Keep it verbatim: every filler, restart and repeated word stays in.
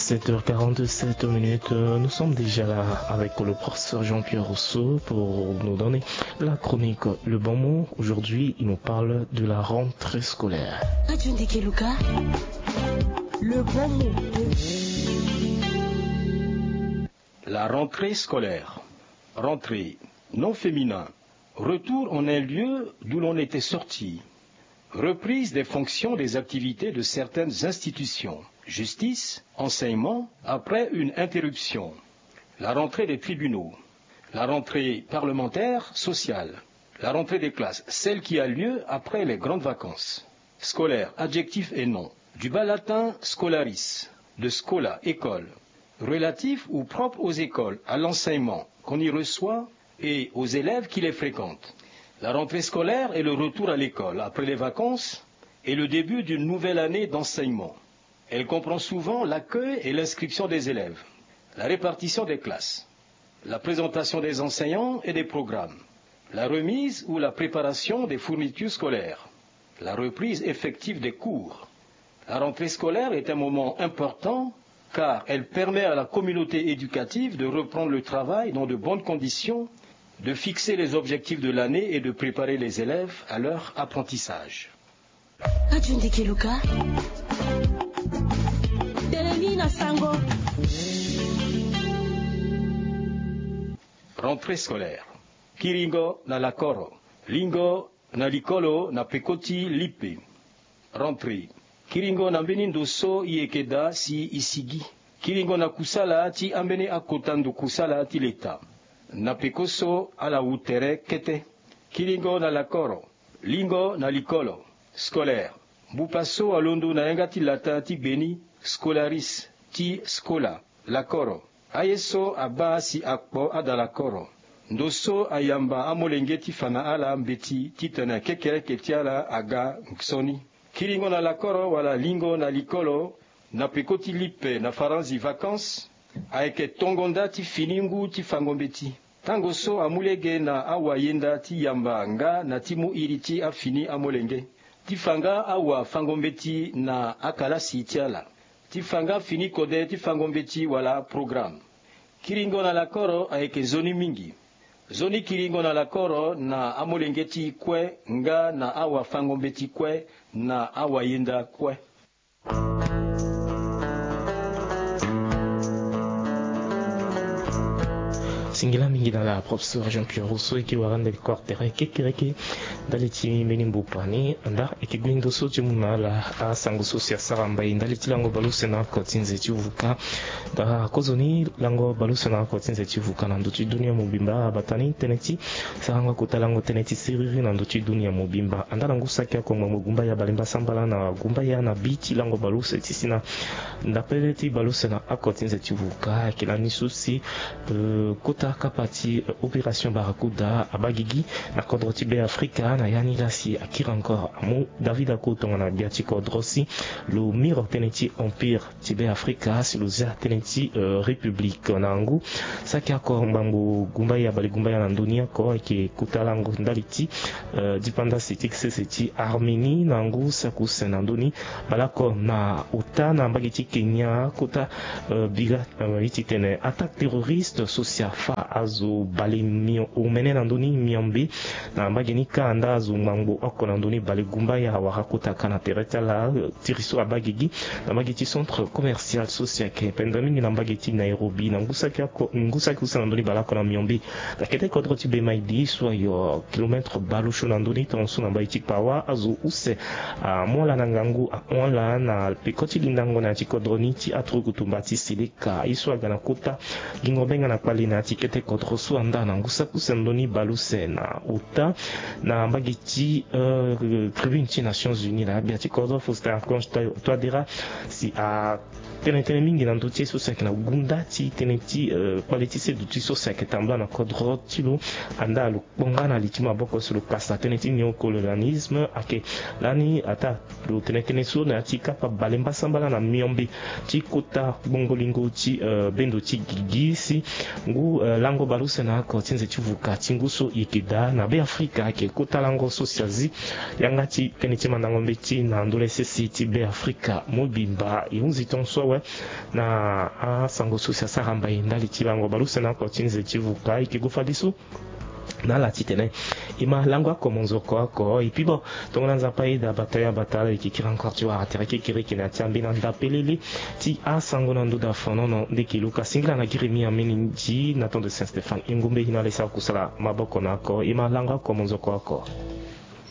Sept heures quarante-sept minutes, euh, nous sommes déjà là avec le professeur Jean-Pierre Rousseau pour nous donner la chronique Le Bon Mot. Aujourd'hui, il nous parle de la rentrée scolaire. Radio Ndeke Luka, Le Bon Mot. La rentrée scolaire. Rentrée, nom féminin. Retour en un lieu d'où l'on était sorti. Reprise des fonctions, des activités de certaines institutions. Justice, enseignement, après une interruption. La rentrée des tribunaux. La rentrée parlementaire, sociale. La rentrée des classes, celle qui a lieu après les grandes vacances. Scolaire, adjectif et nom. Du bas latin scolaris, de scola, école. Relatif ou propre aux écoles, à l'enseignement qu'on y reçoit et aux élèves qui les fréquentent. La rentrée scolaire est le retour à l'école après les vacances et le début d'une nouvelle année d'enseignement. Elle comprend souvent l'accueil et l'inscription des élèves, la répartition des classes, la présentation des enseignants et des programmes, la remise ou la préparation des fournitures scolaires, la reprise effective des cours. La rentrée scolaire est un moment important car elle permet à la communauté éducative de reprendre le travail dans de bonnes conditions, de fixer les objectifs de l'année et de préparer les élèves à leur apprentissage. Radio Ndeke Luka. Tene ni na sango. Rentrée scolaire. Kiringo na lakoro. Lingo na likolo na peko ti lipe. Rentrée. Kiringo na mbeni ndo so i yeke daa si i sigi. Kiringo na kusala ti ambeni akota ndo kusala ti leta. Na peko so ala wu tere kete. Kiringo na lakoro. Lingo na likolo. Scolaire. Mbupa so alondo na yanga ti latin ti gbe ni, scolaris, ti scola, lakoro. Aye so abaa si akpo ada lakoro. Ndo so ayamba amolenge ti fa na ala mbeti titene kekereke ti ala aga nzoni. Kiringo na lakoro wala lingo na likolo, na peko ti lipe na faranzi vacances, ayeke tongo nda ti fini ngu ti fango mbeti. Tango so amu lege na awayenda ti yamba nga na ti mu iri ti afini amolenge, ti fa nga awafango-mbeti na akalasi ti ala, ti fa nga fini kode ti fango-mbeti wala programe. Kiringo na lakoro ayeke nzoni mingi. Nzoni kiringo na lakoro na amolenge ti kue nga na awafango-mbeti kue na awayenda kue. Singila mingi na la professeur Jean-Pierre Rousseau eke wara ndali kua tere kekereke ndali ti mbeni mbupa ni. Anda eke gbi ndo so ti mu na ala asango so si asara mbai ndali ti lango baleuse na oko ti nze ti vuka. Daa kozoni lango baleuse na oko ti nze ti vuka na ndö ti dunia mobimba abata ni tënë ti sarango kota lango tënë ti siriri na ndö ti dunia mobimba. Anda na ngu saki oko ngbangbo gumbaya balemba sambala na gumbaya na bi ti lango baleuse ti si na ndapele ti baleuse na oko ti nze ti vuka ayeke lani so si, euh, kota kapa ti, euh, opération Barracuda abaa gigi na kodro ti Beafrika na ya ni laa si akiri encore amu David Ako tongana gbia ti kodro si lo miro tënë ti empire ti Beafrika si lo zia tënë ti, euh, république. Na ngu saki oko ngbangbo gumbaya balegumbaya na ndö ni oko ayeke kota lango ndali ti, euh, dipanda sese ti sese ti Arménie na ngu saki use na ndö ni baleoko na ota na mbage ti Kenya kota, euh, bira, euh, ye ti tene attaque terroriste so si afâ azo bale mio omene na ndö ni miombe na mbage ni kâ anda azo ngbangbo oko na ndö ni balegumbaya awara kota ka na tere ti ala, euh, tiri so abaa gigi na mbage ti centre commercial so si ayeke pendere mingi na mbage ti Nairobi na ngu saki oko, ngu saki use na ndö ni baleoko na miombe. Na kete kodro ti Bemaidi so ayo kilomètre baleuse na ndö ni tongaso na mbage ti Pawa azo use amu ala na ngangu ahon ala na peko ti lindango na ya ti kodro ni ti aturuku tumba ti Seleka. Ka ye so aga na kota gingo benga na kpale na ya ti kete kodro so anda na ngu saki use na ndö ni baleuse na ota na mbage ti, euh, tribune ti Nations Unies na ya gbia ti kodro Faustin Archange Touadéra si atene tënë mingi na ndö ti ye so si ayeke na gunda ti tënë ti, euh, kpale ti seduti so si ayeke tambula na kodro ti lo. Anda lo kpo nga na li ti maboko si lo kasa tënë ti néocolonialisme ayeke lani ataa lo tene tënë so na ya ti kapa balemba sambala na miombe ti kota gbongo lingo ti, euh, bendo ti gigi si ngu, euh, Lango baleuse na oko ti nze ti vuka ti ngu so e yeke daa na Beafrika ayeke kota lango so si azi yanga ti tënë ti mandango mbeti na ndö la sese ti Beafrika mobimba. E hunzi tongaso awe na asango so si asara mbai ndali ti lango baleuse na oko ti nze ti vuka. E yeke gue fadeso na ala titene e ma lango oko monzoko oko. Et puis bon, tongana Nzapa ayeda bata ya bata ala, e yeke kiri encore ti wara tere kekereke na ya ti ambeni anda pelele ti asango na ndö da fanono. Nde e yeke luka singila na giri mi amininzi na temps de Saint Stéphane e ngumbe e na ala e sara kusala maboko na oko. E ma lango oko monzoko oko.